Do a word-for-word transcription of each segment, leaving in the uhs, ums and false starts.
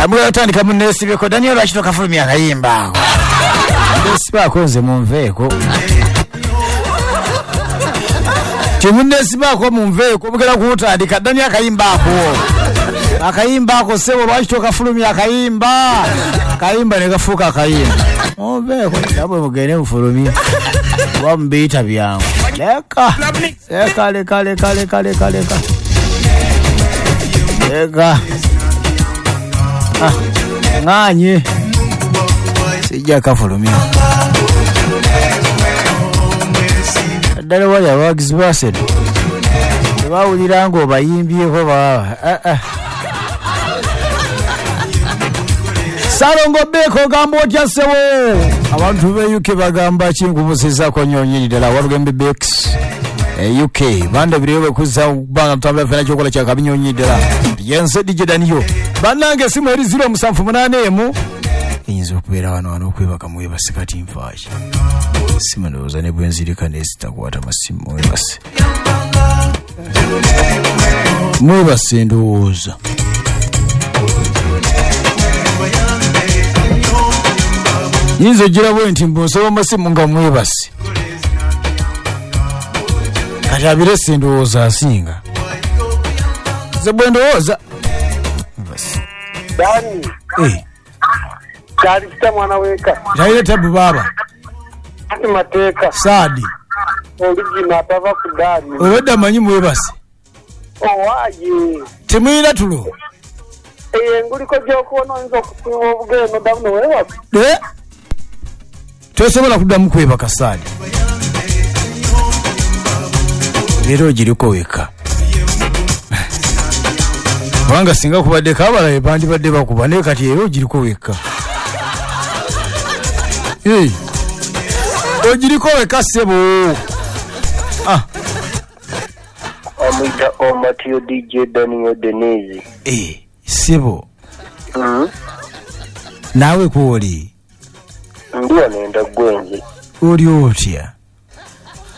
Amwe otandika munneesibeko. Daniel, lwaki tokafulumya akayimba ako? Nesibaako nze, munveeko. Temunneesibaako, munveeko. Mugenda kuwutandika. Daniel, akayimba ako, akayimba ako, ssebo, lwaki tokafulumya akayimba? Akayimba ne kafuuka akayimba. Munveeko nabwe, mugende mufulumye oba mubiyita byangu. Leka, leka, leka, leka, leka, leka, leka, leka. Ah, ŋŋaanye, sijja kafulumya. Ddala wali abawagizi ba Arsenal tebawulira ng'obayimbyeko baba. Eh, eh. Salongo Beko, ogamba otya ssebo? Abantu be U K bagamba ki? Nkubuuzizaako nnyo nnyini ddala. Walugembe Bex e U K bandabireyo bwekuzza kubanga mutambula fena kyokola kyakabi nnyo nnyini ddala. Yenze D J Daniyo. Bannange, esimu eri ziro musanvu munaana emu. Eyinza okubeera wano wano okwebaka mwebase. Kati nfaaki? Simu ndowooza ne bwenzirika nezitakwata masimu. Mwebase, mwebase ndowooza. Yinza ogira bwe nti mbonsaba masimu nga mwebase. Kati abirese ndowooza asinga nze bwe ndowooza. Mwebase. Dani, Eh, kyali mwana weka. Talina tabu baaba. Ati mateeka. Saadi. Oligina atava ku gaali. Obadde amanyi mwebase. Owaaye. Temulina tulo. Eyo enguliko gy'okuwona oyinza okusiba obugere noddamu ne weebaka. Eh? Tosobola kuddamu kwebaka, Saadi. Leero ogiriko wekka, kubanga singa kubaddeko abalabe bandibadde bakuba, naye kati era ogiriko wekka. Eh, ogiriko wekka ssebo. Ah, Amwita Omatio D J Daniel Denezi. Eh, ssebo. Mm. Naawe kwoli? Ndi wano endagwenze. Oli otya?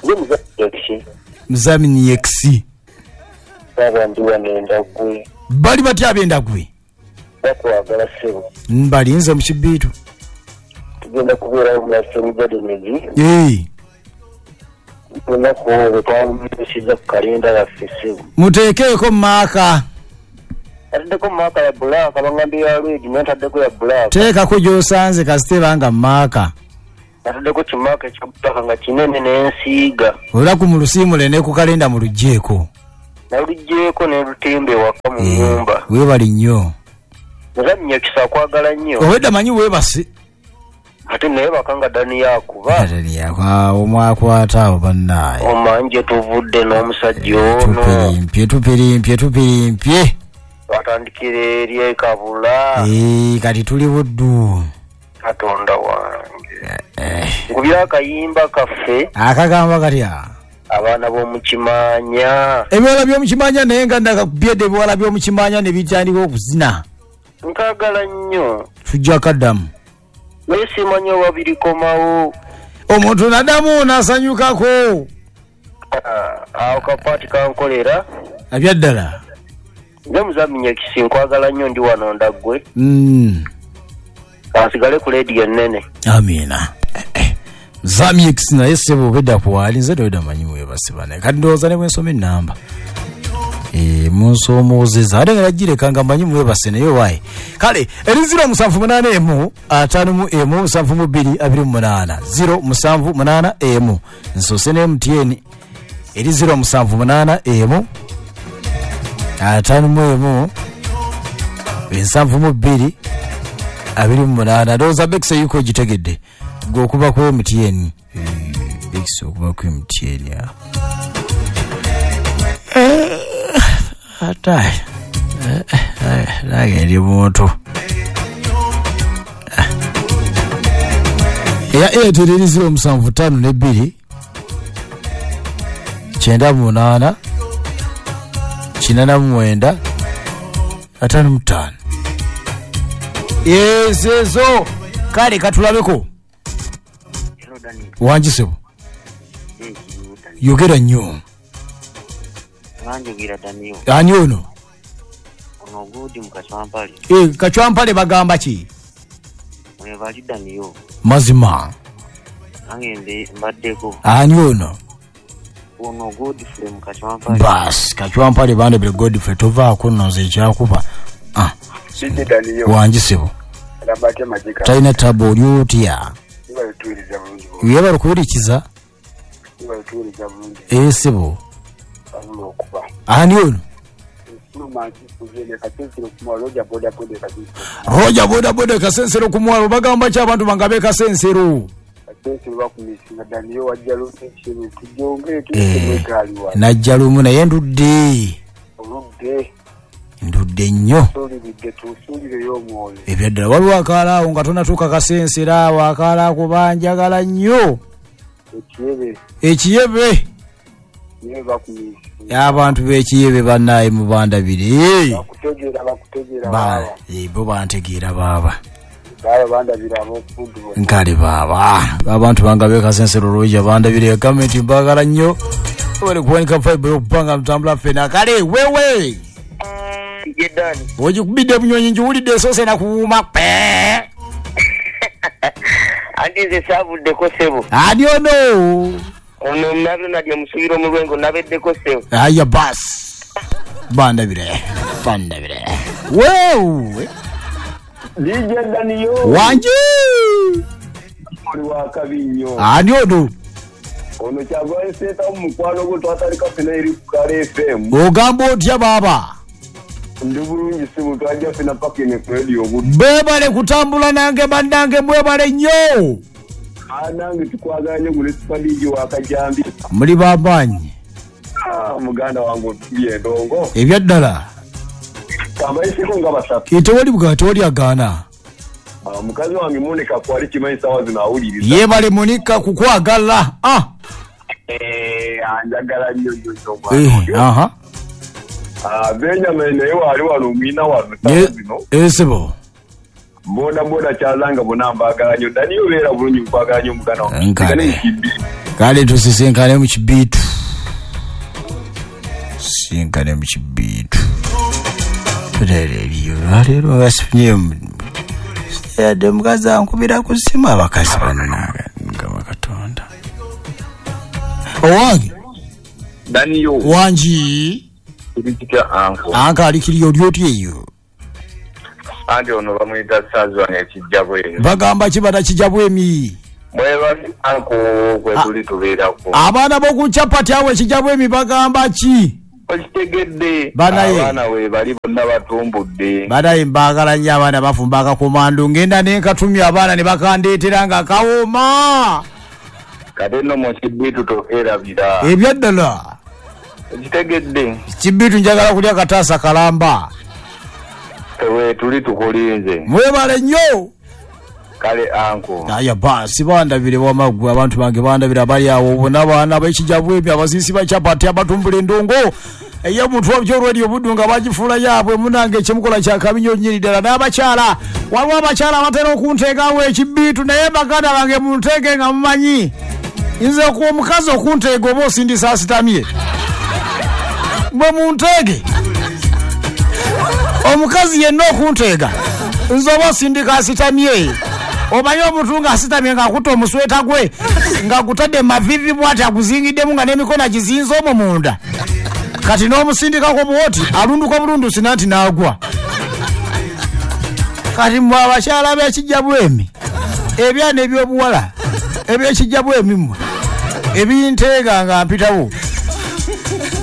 Ndi muzaki. Muzamini X. Baba, ndi wano endagwe. Bali batya ab'endagwe? Bakwagala ssebo. Mbalinze mu kibiitu. Tugenda kubeerawo mu Aston Gardens. Eh, Lunaku olwo twalutuusiza ku kalenda yaffe ssebo. Muteekeeko maaka. Ataddeko marker ya black, abangambye ya red, naye ntaddeko ya black. Teekako gy'osanze kasita ebanga marker. Nataddeko ki marker ekya black nga kinene n'ensiiga. Olunaku mulusiimule ne ku kalenda muluggyeko. Naluggyeeko ne lutimba ewaka mu Eh, nnyumba. Weebale nnyo. Muzannya kisa akwagala nnyo. Obwedda manyi weebase. Ate naye baka nga Dani yakuba. Awo mwakwata awo bannaaye. Omanje tuvudde n'omusajja ono. Tupirimpye, tupirimpye, tupirimpye. Twatandikira eri e Kabula. Eh, kati tuli Buddu. Katonda wange. Eh, Nkubira akayimba kaffe. Akagamba katya? Abaana b'omukimanya. Ebiwala by'omukimanya, naye nga ndakakubyedde ebiwala by'omukimanya ne bitandika okuzina. Nkaagala nnyo. Tujja kaddamu. Naye simanyi oba birikomawo. Omuntu naddamu n'asanyukako. Ah, awo kapaati kankolera. Abyaddala. Nze muzamenya kisi nkwagala nnyo, ndi wano ndaggwe. Mm. Kansigale ku leediyo ennene. Amiina. Eh, eh. Zamix, naye ssebo obedda kuwaali nze towedda manyi mwebase banaye. Kati ndowooza ne bwensoma ennamba. Eh, munsomoozeza ate nga nagireka nga manyi mwebase, naye waayi. Kale eri ziro musanvu munaana emu ataano mu emu musanvu mu bbiri abiri mu munaana, ziro musanvu munaana emu. Nsoose ne M T N eri ziro musanvu munaana emu ataano mu emu ensanvu mu bbiri abiri mu munaana. Ndowooza Bex yuko ogitegedde gwe okuba ku M T N. Eh, Bex okuba ku M T N ah. Eh, ate eh, eh, nange ndi muntu. Eya Airtel eri ziro musanvu ttaano ne bbiri kyenda mu munaana kinana mu mwenda ataano mu ttaano. Ezezo kale katulabeko. Hello, Dani. Wangi ssebo. Eh, Dani. Yogera nnyo. Banjogira Daniel. Ani ono? Ono gudi mu Kachwampale. Eh, Kachwampale bagamba ki? Mwebali Daniyo. Mazima. Nange mbe mbaddeko. Ani ono? Ono Godfrey mu Kachwampale. Bas, Kachwampale bandabire Godfrey tovaako nno nze ekyakuba. Ah. Sije Daniyo. Wangi sebo. Alambate majika. Talina tabu oli otya? Ibalituwiriza bulungi. Yebale kuwurikiza. Ibalituwiriza bulungi. Eh sebo. Abula okuba. Ani ono? Roja boda boda kasensero kumwalo bagamba ki abantu bangabe kasensero. Eh, najja lumu naye ndudde. Ndudde nnyo. Ebyaddala waliwo akaala awo nga tonatuuka kasensero awo akaala ako banjagala nnyo. Ekiyebe. Abantu b'ekiyebe bannaye mubandabire. Bakutegeera bakutegeera baaba. Bo bantegeera baaba. Baaba bandabira ab'okudu. Nkale baaba. Abantu bangabe kasensero Roja bandabire gavumenti mbagala nnyo. Bali kuwanika fiber okupanga mutambula ffena. Kale wewe. Jedani. Ogikubidde bunyonyi njiwulidde esoose nakuwuuma pe. Anti nze saavuddeko ssebo. Ani ono? Ono Nabyo omusubiro mu lwengo nabeddeko ssebo. Aya bas. Bandabire. Bandabire. Wewe. D J Daniyo. Wangi. Oli wa kabi nnyo. Ani ono? Ono kyagwa nseta mu mukwano gwo twatandika ffena eri ku Kale F M. Ogamba otya baaba? Ndi bulungi ssebo twajja ffena paka eno ku radio obudde. Beebale kutambula nange bannange mwebale nnyo. Nange tukwagala nnyo gwe ne Super D J wa Kajambi. Muli bamaanyi. Ah, muganda wange otubye endongo. Ebyaddala. Kambayiseko nga basatu. Tewali bwa tewali agaana. Ah, mukazi wange Monica kwali kimanyi ssaawa zino awuliriza. Yeebale Monica kukwagala. Ah. Eh, anjagala nnyo nnyo nnyo. Eh, aha. Ah, Benjamin naye wali wano omwina wano ssaawa zino. Eh, sebo. Boda boda kyazanga bonna mbaagala nnyo. Daniyo beera bulungi nkwagala nnyo muganda wange. Nkale. Kale tusisinkane mu kibiitu. Sinkane mu kibiitu. Leero basifunye yadde omukazi ankubira ku ssimu abakazi bannange Mukama Katonda. Owange. Daniyo. Wangi. Kitya anko. Anka alikiriyo oli otya eyo? Anti ono bamuyita Sazwan ekijja bwemi. Bagamba ki banakijja bwemi? Mwebali anko kwe tuli tubeerako. Abaana b'oku chapati awo ekijja bwemi bagamba ki? Okitegedde. Banaye. Abaana we bali bonna batumbudde. Banaye mbaagala nnyo abaana bafumba akakomandu. Ngenda ne nkatumya abaana ne bakandeetera nga kawooma. Kate nno mu kibiitu tokeerabira. Ebyaddala. Okitegedde. Kibiitu njagala kulya kataasa kalamba. Ewe tuli tukulinze. Mwebale nnyo. Kale anko. Aya basi bandabire wamagwe abantu bange bandabire abali awo bonna baana b'ekijja bwemi abasiisi ba chapati abatumbula endongo. Eyo omuntu wabyo radio buddu nga bagifuula yaabwe munange ekyemukola kya kabi nnyo nnyini ddala n'abakyala. Waliwo abakyala abatera okunteegawo ekibiitu naye baganda bange munteege nga mumanyi. Nze okuwa omukazi okunteega oba osindisa asitamye. Bwe munteege. Omukazi yenna okunteega nze oba osindika asitamye. Omanyi omuntu ng'asitamye ng'akutte omusweta gwe ng'agutadde mavivi bw'ati aguzingiddemu nga n'emikono agizinze omwo munda. Kati n'omusindikako bw'oti alunduka bulundusi nanti n'agwa. Kati mmwe abakyala b'ekijja bwemi ebyana ebyobuwala eby'ekijja bwemi mmwe ebinteega nga mpitawo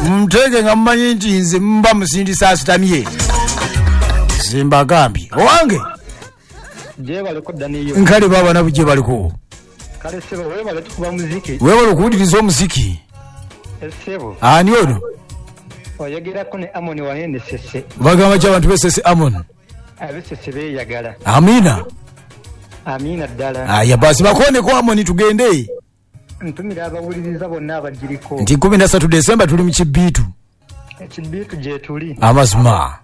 munteege nga mumanyi nti nze mba musindisa asitamye. Simbagambye owange. Gyebaleko Daniyo. Nkale baba nabo gyebaliko. Kale ssebo weebale tukuba muziki. Weebale okuwuliriza omuziki. Ssebo. Ani ono? Oyogerako ne Amoni wanene Ssese. Bagamba ki abantu b'Ssese Amoni? Ab'Ssese beeyagala. Amiina. Amiina ddala. Aya basi bakoneko Amoni tugende. Ntumira abawuliriza bonna abagiriko. Nti kumi na ssatu Desemba tuli mu kibiitu. Ekibiitu gye tuli. Amazima.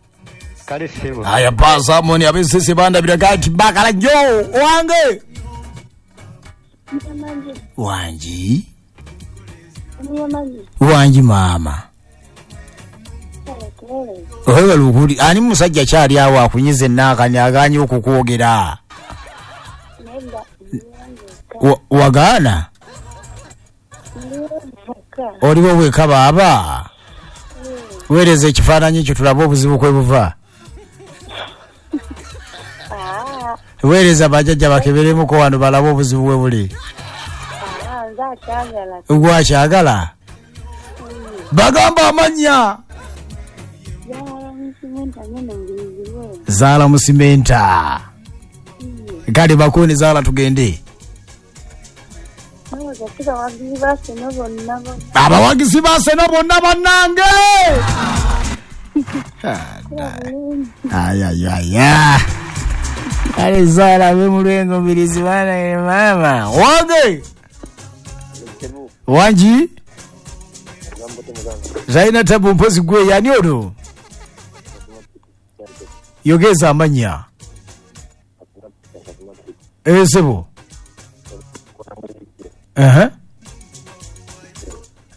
Kale ssebo. Aya basi Amoni ab'Ssese bandabira gati bakala nnyo owange. Wangi. Wangi maama. Ohewa lukuli ani musajja kyali awo akunyize naakani aganye okukwogera? Wagaana? Oliwo weka baaba? Weereza ekifaananyi ekyo tulabe obuzibu kwe buva. Weereza bajjajja bakeberemuko wano balabe obuzibu bwe buli. Gwakyagala? Bagamba amannya. Zaala Musimenta. Kale bakuni Zaala tugende. Abawagizi ba Arsenal bonna bannange. Ayayaya. Kale Zaala be mulwengo mbirizi bana mama. Wange. Wanji? Zaina tabu mpozi gwe yani ono? Yogeza amanya. Esebo. Aha.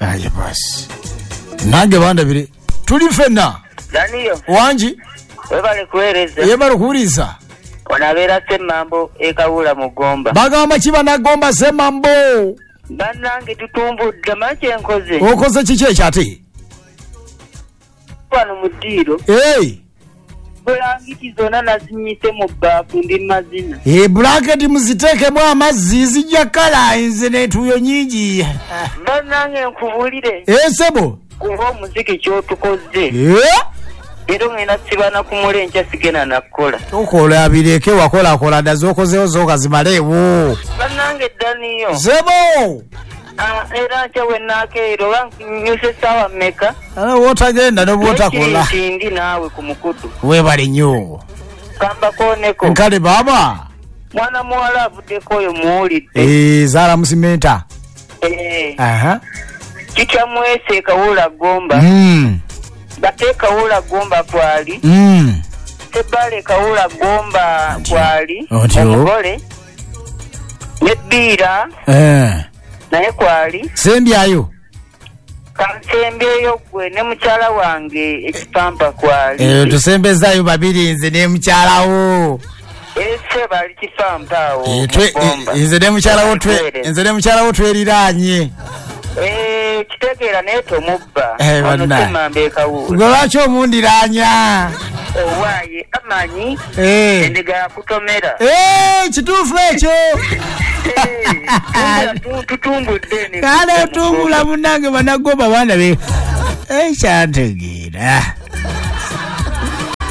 Aye basi. Nange banda bire. Tuli fenna. Daniyo. Wanji? Webale kuwereza. Yebale kuwuriza. Onabera Semambo ekawula mugomba. Bagamba kiba nagomba Semambo. Bannange tutumbudde manyi nkoze. Okoze kiki ekyate? Wano mu ddiiro. Hey. Bulangiti zonna nazinyise mu bbaafu ndi mazina. Eh, bulangiti muziteekemu amazzi zijja kala nze n'entuuyo nnyingi. Bannange nkubuulire. Eh, ssebo. Kuba omuziki ky'otukoze. Eh? Era ngenda sibana ku mule enkya sigenda nakukola. Tokola bireke wakolakola dda z'okozeewo zooka zimaleewo. Bannange Daniyo. Ssebo. Ah, era nkya we naakeera oba nnyuse ssaawa mmeka? Ala w'otagenda ne bw'otakola. Ndi naawe ku mukutu. Weebale nnyo. Kambakooneko. Nkale baaba. Mwana muwala avuddeko oyo muwulidde. Eh, Zaala Musimenta. Eh. Aha. Kitya mwese Kawula Gomba. Mm. Bate Kawula Gomba kwali. Mm. Sebale Kawula Gomba kwali. Omugole. Nebbiira. Eh. Naye kwali. Sembyayo. Kansembyeyo gwe ne mukyala wange ekipampa kwali. Eh, tusembezaayo babiri nze ne mukyalawo. Ese bali kipampa awo. Eh, twe nze ne mukyalawo twe nze ne mukyalawo tweriranye. Eh, kitegeera naye tomubba. Eh, Ono Semambo ekawula. Gwe lwaki omundiranya? Owaaye amanyi. Eh. Endiga yakutomera. Eh, kituufu ekyo. Tutumbudde. Kale tumbula munnange bannagomba baana be. Ekyantegeera.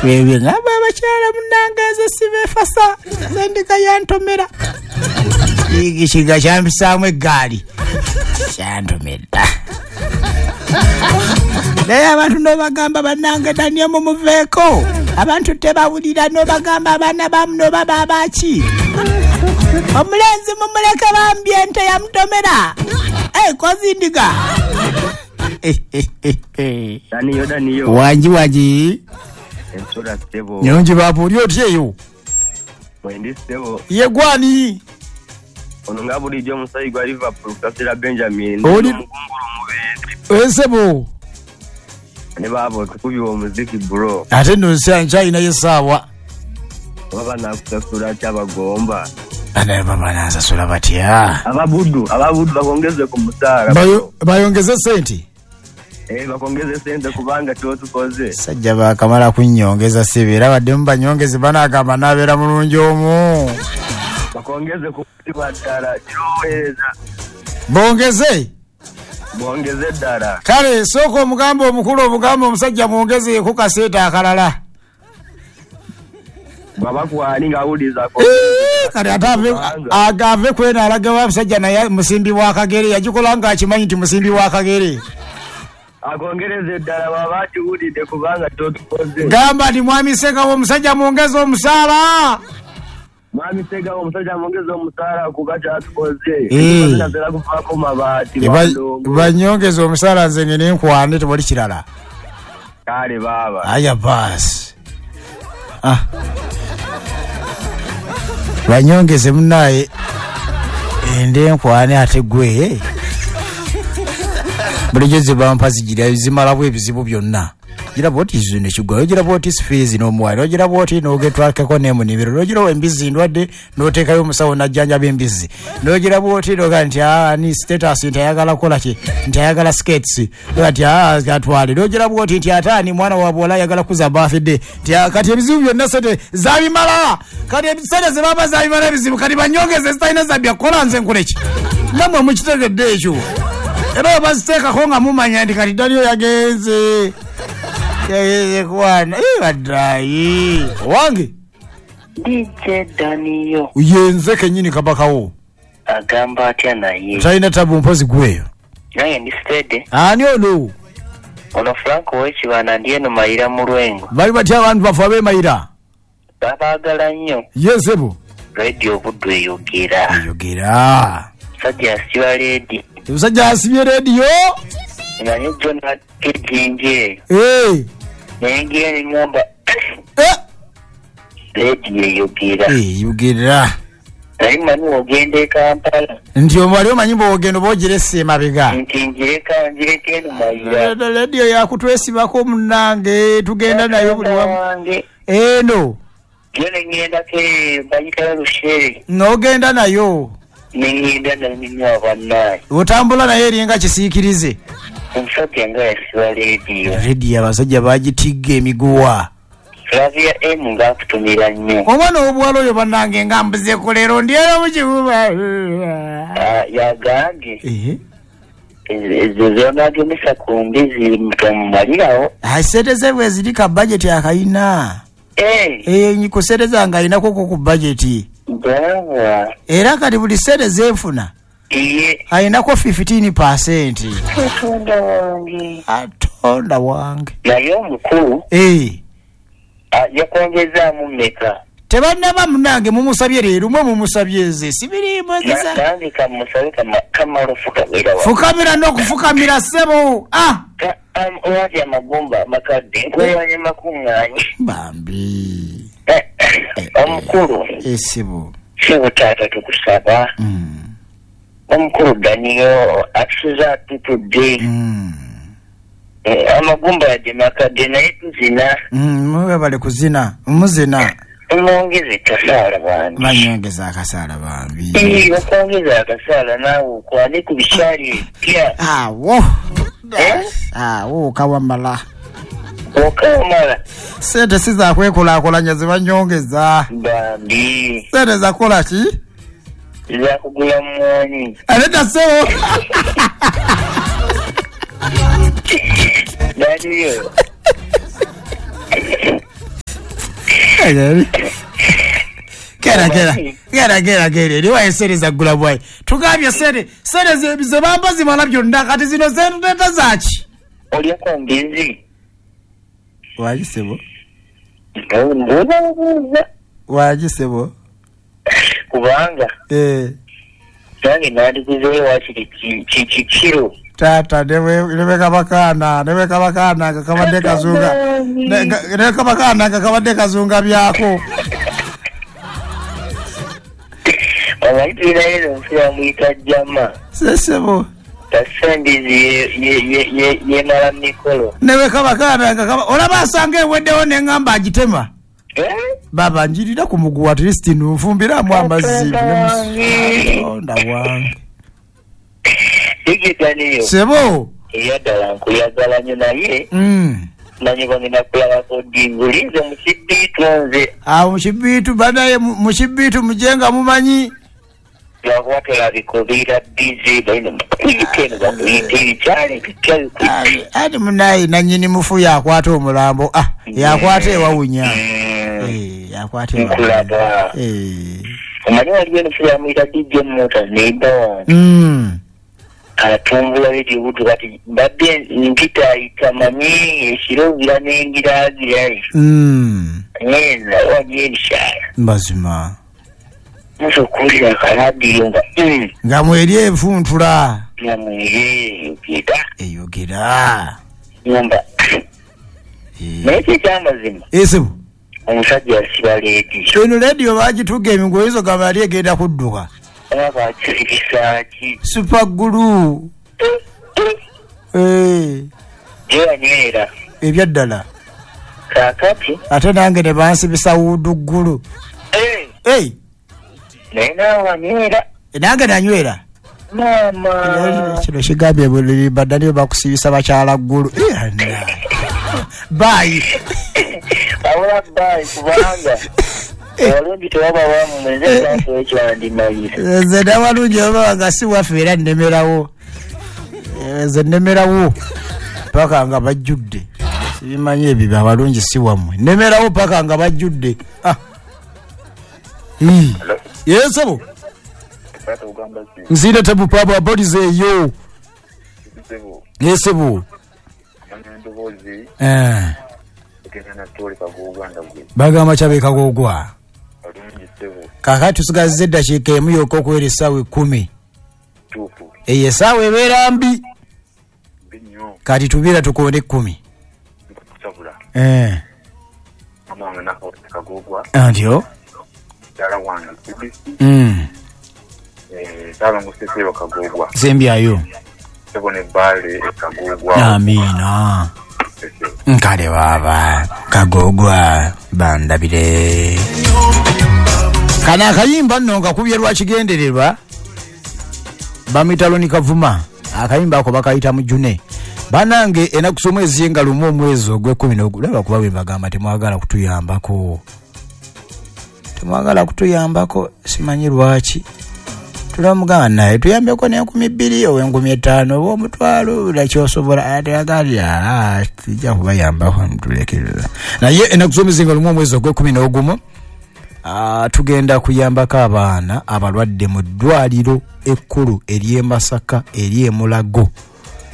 Bebyo ngamba abakyala munnange nze sibeefasa. Nze endiga yantomera. Ekiga kyampisaamu eggaali. Kyantomera. Naye abantu n'obagamba bannange Daniel mumuveeko. Abantu tebawulira n'obagamba abaana bamuno baba abaki. Omulenzi mumuleke bambi ente yamutomera. Eh, kozi ndiga. Daniyo, Daniyo. Wanji wanji. Ensula ssebo. Nyonji babu oli otya eyo? Mwendi ssebo. Ye gwani? Ono nga bulijjo omusaayi gwa Liverpool Kasira Benjamin. Oli omukungulu omubeezi. Ssebo. Ne baabo tukubye omuziki bro. Ate nno nkyalinayo essaawa. Baba nakusasula kyabagomba. Anaye baba nansasula batya? Ababudu, ababudu bakongeze ku musaala. Bayongeze ssente? Eh, bakongeze ssente kubanga kyotukoze. Sajja baakamala kunnyongeza ssebe era baddemu banyongeze banaagamba naabeera mulungi omu. Bakongeze ku kutibwa ddala kiroweereza. Bongeze? Bongeze ddala. Kale sooka omugambe omukulu omugambe omusajja mwongezeeko kaseeta akalala. Baba kwani ngawuliza ko. Eh, kale ate agave kwena alaga wa musajja naye musimbi wa Kagere yagikola nga akimanyi nti musimbi wa Kagere. Akongereze ddala baba akiwulidde kubanga totukoze. Gamba nti mwami Ssegawo omusajja mwongeze omusaala. Mwami Ssegawo omusajja mwongeze omusaala kuba kyatukoze. Eh. Tunatera kuvaako mabaati. Banyongeze omusaala nze ngene nkwane tewali kirala. Kale baba. Aya basi. Ah. Banyongeze munnaye ende nkwane ate gwe. Bulijjo ze bampa zigira zimalawo ebizibu byonna. Giraba oti zino ekigwayo, giraba oti fees n'omuwayo, ogiraba oti n'ogetwakeko n'emunimiro, n'ogiraba embizzi ndwadde n'oteekayo omusawo n'ajjanjaba embizzi, n'ogiraba oti n'ogaa nti aa ni status nti ayagala kukola ki, nti ayagala skates, nti aa atwale, n'ogiraba oti nti ate ani mwana wa buwala ayagala kuza birthday, nti kati ebizibu byonna sente zabimala, kati sente ze baba zabimala ebizibu, kati banyongeze zitalina zabya kukola nze nkole ki? Nammwe mukitegedde ekyo. Era baziteekako nga mumanya nti kati Daniel yagenze. Yagenze kwana. Eh, baddayi. Owange. D J Daniel. Yenze kennyini kabakawo. Agamba atya naye. Talina tabu mpozi gweyo. Naye ndi steady. Ani ono? Ono Franco w'Ekibanda ndi eno Mayira mu Lwengo. Bali batya abantu bafe ab'e Mayira? Babaagala nnyo. Yesebo. Radio Buddu eyogera. Eyogera. Musajja asiba leedi. Omusajja asibye leediyo. Naye John Ejinje. Eh. Naye ngira ne ngamba. Eh. Leediyo eyogera. Eyogera. Naye mmanyi ogenda e Kampala. Nti omwali omanyi bw'ogenda oba ogirese emabega. Nti ngireka ngireka eno Mayira. Leediyo yakutwesibako munnange tugenda nayo buli wamu. Eno. Yo ne ngendako bayitayo Rushere. N'ogenda nayo. Nengenda nayo bannange. Otambula naye eringa kisiikirize. Omusajja nga yasiba leediyo. Leediyo abasajja bagitigga emiguwa. Flavia M ng'akutumira nnyo. Omwana ow'obuwala oyo bannange nga mbuzeeko leero ndi era mu kibuga. Yagambye. Ezo z'onaagemesa ku mbizi tomumalirawo. Ssente ze bwe ziri ka bajeti akayina. Eh, ku ssente zange ayinako ku bajeti. Era kati buli ssente zenfuna ayinako fifteen percent. Atonda wange. Atonda wange. Naye omukulu. Eh. Yakwongezaamu mmeka? Tebannaba munnange mumusabye leero mwe mumusabye nze sibiriimu nziza. Nange kamusabe kamala fukamira. Fukamira n'okufukamira ssebo. Ah! Owati amagumba amakadde nkwewanya makuŋŋaanye. Bambi. Omukulu. Ssebo. Ssebo taata tukusaba. Omukulu Daniel atusuza atutudde. Amagumba yadde makadde naye tuzina. Mwebale kuzina muzina. Mwongeze kasaala bambi. Banyongeza akasaala bambi. Ee, bakwongeza akasaala naawe okwane ku bikyali ebipya. Awo. Awo kawamala. Okawamala. Ssente si za kwekulaakulanya ze banyongeza. Bambi. Ssente za kukola ki? Za kugula mmwanyi. Aleta ssebo. Daniel. Kera kera kera kera kera ni waye sere za gula bwayi tugambye sere sere ze bamba zimala byonna kati zino zenteta zaki olya ku mbizi waji sebo mbuza waji sebo kubanga eh nange nandikuzeyo wakiri kikiro tata newe kabakana newe kabakana kakabadde kazunga newe kabakana kakabadde kazunga byako omayitirayo omufu amuyita jama sesebo tasendizi yemala mikolo newe kabakana olaba asanga eweddewo neŋŋamba agitema baba njirira ku muguwa at least nfumbiramu amazzi onda wange Daniel. Sebo. Eyaddala nkuyagala nnyo naye. Mm. Manyi bangenda kulabako ddi nze mu kibiitu nze. Awo mu kibiitu banaye mu kibiitu mujenga mumanyi. Lwakuba tolabika obeera busy balina bakuyita eno bakuyita ebikyalo ebipya bikuyita. Ati munaye nannyini mufu yakwata omulambo. Ah, yakwata ewawunya. Eh, yakwata ewawunya. Nkulaba. Eh. Omanyi waliwo enofu yamuyita D J Motors neighbor wange. Mm. Atumbula Radio Buddu kati mbadde mpitaayita manyi ekiro ngira nengiraagirayo. Mm. Ngenda waliyo ebikyala. Mazima. Musa okuwulira akaladiyo nga nga mweri enfuntula. Nga mweri eyogera. Eyogera. Ngamba. Naye ki ekyamazima? Esebo. Omusajja asiba leediyo. Eno leediyo baagituga emiguwa oyinza ogamba yali egenda kudduka. Oba Super glue. Eh. Jewanywera. Ebyaddala. Kaakati ate nange ne bansibisa wuuduggulu. Eh. Hey. Naye naawe wanywera. Nange nanywera. Maama. Kino kigambye buli badaniyo bakusibisa bakyala ggulu. Bye. Wabula bye kubanga awalungi tewaba wammwe, nze nsanfu ekyo wandimalira. Nze n'awalungi waba nga si waffe era nnemerawo. Nze nnemerawo paka nga bajjudde. Sibimanyi ebyo abalungi si wammwe. Nnemerawo paka nga bajjudde. Ah. Yes, sebo. Nzira tabu paba bodies eyo. Yes, sebo. Eh. Bagamba kyabe kagogwa. Kakati tusigazizza eddakiika emu yokka okuwera essaawa ekkumi. Eyo essaawa ebeera mbi. Kati tubeera tukoone ekkumi. Eh. Antyo? Mm. Sembyayo. Amiina. Nkale baba kagogwa bandabire. Kana akayimba nno nga kubye lwakigendererwa bamuyita Loni Kavuma. Akayimba ako bakayita Mujune. Banange enaku z'omwezi nga lumu omwezi ogw'ekkumi n'ogulaba kuba bwe bagamba temwagala kutuyambako. Temwagala kutuyambako simanyi lwaki. Tulamugamba naye tuyambeko n'enkumi bbiri oba enkumi ttaano oba omutwalo nakyosobola ate agalya tujja kubayambako ntulekerera. Naye enaku z'omwezi nga lumu omwezi ogw'ekkumi n'ogumu Uh, tugenda kuyambako abaana abalwadde mu ddwaliro ekkulu ery'e Masaka ery'e Mulago.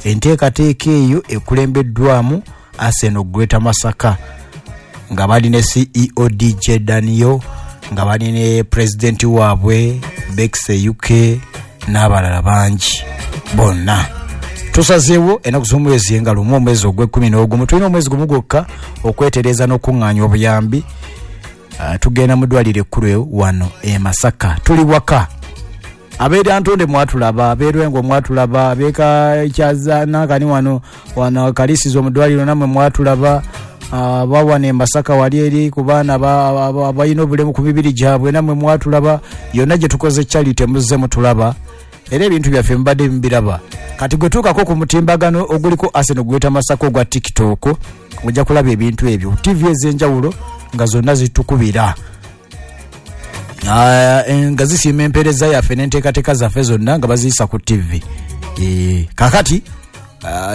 Enteekateeka eyo ekulembeddwamu Arsenal Greater Masaka nga bali ne C E O D J Daniel, nga bali ne pulezidenti waabwe Bex U K n'abalala bangi bonna. Tusazeewo ennaku z'omwezi nga lumu omwezi ogw'ekkumi n'ogumu. Tulina omwezi gumu gwokka okwetereeza n'okuŋŋaanya obuyambi. Uh, tugenda mu ddwaliro ekkulu wano e Masaka. Tuli waka. Abeera Ntonde mwatulaba, abeerwengo mwatulaba, abeeka Kyaza nakani wano wano Kalisizo mu ddwaliro nammwe mwatulaba, uh, bawana e Masaka wali eri ku baana abalina obulemu ku mibiri gyabwe nammwe mwatulaba. Yonna gye tukoze charity muzze mutulaba. Era ebintu byaffe mubadde mubiraba. Kati gwe tuukako ku mutimbagano oguliko Arsenal Greater Masaka ogwa TikTok ojja kulaba ebintu ebyo. T V ez'enjawulo nga zonna zitukubira. Nga zisiima empeereza yaffe n'enteekateeka zaffe zonna nga baziyisa ku T V. E, kakati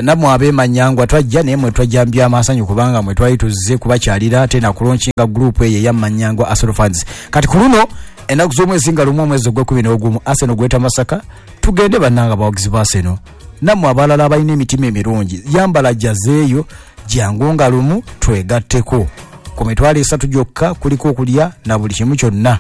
nammwe ab'emanyangwa twajja naye mwe twajjambya amasanyu kubanga mwe twali tuzze kubakyalira ate na kulonkinga group eyo eya Manyangwa Arsenal fans. Kati ku luno ennaku z'omwezi nga lumu omwezi ogw'ekkumi n'ogumu Arsenal Greater Masaka tugende bannanga abawagizi ba Arsenal. Nammwe abalala abalina emitima emirungi yambala jazeeyo jangu nga lumu twegatteko. Ku mitwalo esatu gyokka kuliko okulya na buli kimu kyonna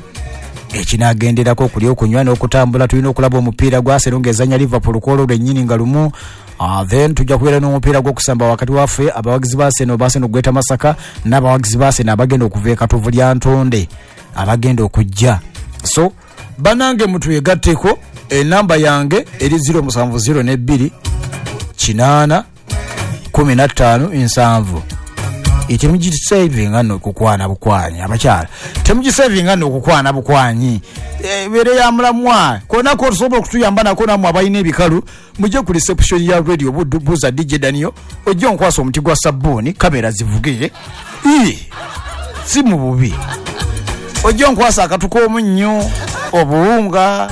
ekinaagenderako okulya okunywa n'okutambula. Tulina okulaba omupiira gwa Arsenal ng'ezannya Liverpool ku olwo lwennyini nga lumu. Uh, then tujja kubeera n'omupiira gw'okusamba wakati waffe abawagizi ba Arsenal ba Arsenal Greater Masaka n'abawagizi ba Arsenal abagenda okuva e Katovu lya Ntonde abagenda okujja. So banange mutwegatteko. Enamba yange eri zero musanvu zero ne bbiri kinaana kumi na ttaano nsanvu. Temugisavinga nno okukwana bukwanyi abakyala, temugisavinga nno okukwana bukwanyi. Ebeere ya mulamwa konna kosobola okutuyamba nako nammwe abalina ebikalu mujje ku reception ya radio buuza D J Daniel ojje onkwasa omuti gwa sabbuuni kamera zivuge. Si mu bubi ojje onkwasa akatu k'omunnyo obuwunga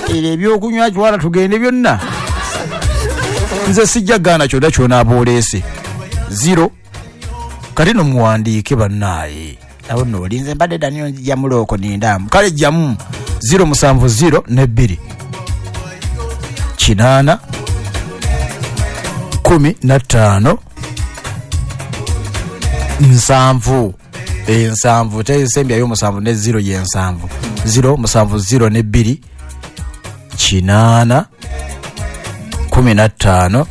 era ebyokunywa kiwala tugende byonna. Nze sijja gaana kyonna ky'onaaba oleese. Zero kati no muwandiike bannaaye awo nno olinze mbadde Daniel nzija mulooko nindamu. Kale jjamu zero musanvu zero ne bbiri kinaana kumi na ttaano nsanvu ensanvu tesembyayo musanvu ne zero ye nsanvu zero musanvu zero ne bbiri kinaana kumi na ttaano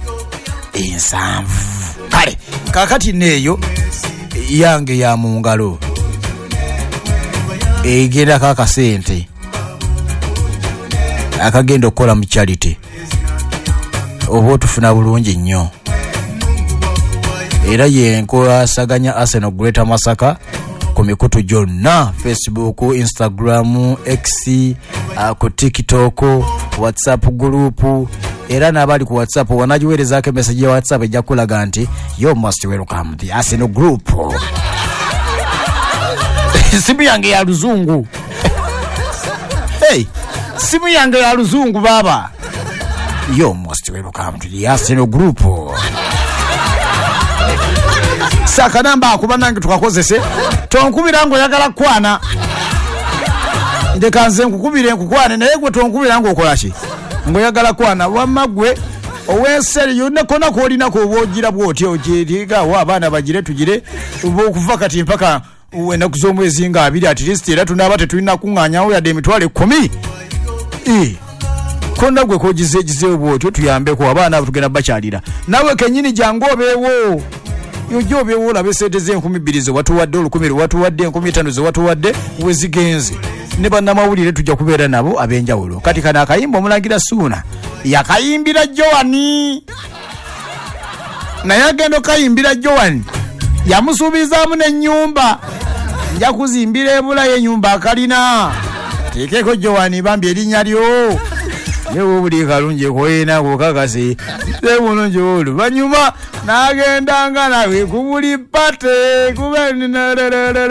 ensanvu. Kale kakati neeyo yange ya mu ngalo egendako akasente akagenda okukola mu charity oba otufuna bulungi nnyo. Era yenkwasaganya Arsenal Greater Masaka ku mikutu gyonna, Facebook, Instagram, X, uh, ku TikTok, WhatsApp group. Era n'abali ku WhatsApp wanagiweerezaako emessage ya WhatsApp ejja kulaga nti you most welcome the Arsenal group. Simu yange ya luzungu. Hey, simu yange ya luzungu baba. You most welcome to the Arsenal group. Saka namba akuba nange tukakozese. Tonkubira ngo oyagala kwana. Ndeka nze nkukubire nkukwane naye gwe tonkubira ngo okola ki? Ngoyagala kwana wamma gwe ow'enseri yonna kona k'olina k'oba ogira bw'otyo ogyeriga wa abaana bagire tugire okuva kati mpaka ennaku z'omwezi nga abiri at least, era tunaaba tetulina kuŋŋaanyawo yadde emitwalo ekkumi. Eh, konna gwe kogizeegizeewo bw'otyo tuyambeko abaana abo tugenda bakyalira. Naawe kennyini jangu obeewo, ojja obeewo olabe sente z'enkumi bbiri ze watuwadde, olukumi lwe watuwadde, enkumi ttaano ze watuwadde we zigenze. Ne bannamawulire tujja kubeera nabo ab'enjawulo. Kati kano akayimba omulangira Suuna yakayimbira Joani, naye agenda okayimbira Joani yamusuubizaamu n'ennyumba, nja kuzimbira ebulayo ennyumba akalina teekeko Joani bambi erinnya lyo yewe buli kalungi koyina kokakase bulungi oluvannyuma n'agendanga nawe ku buli pate kuba.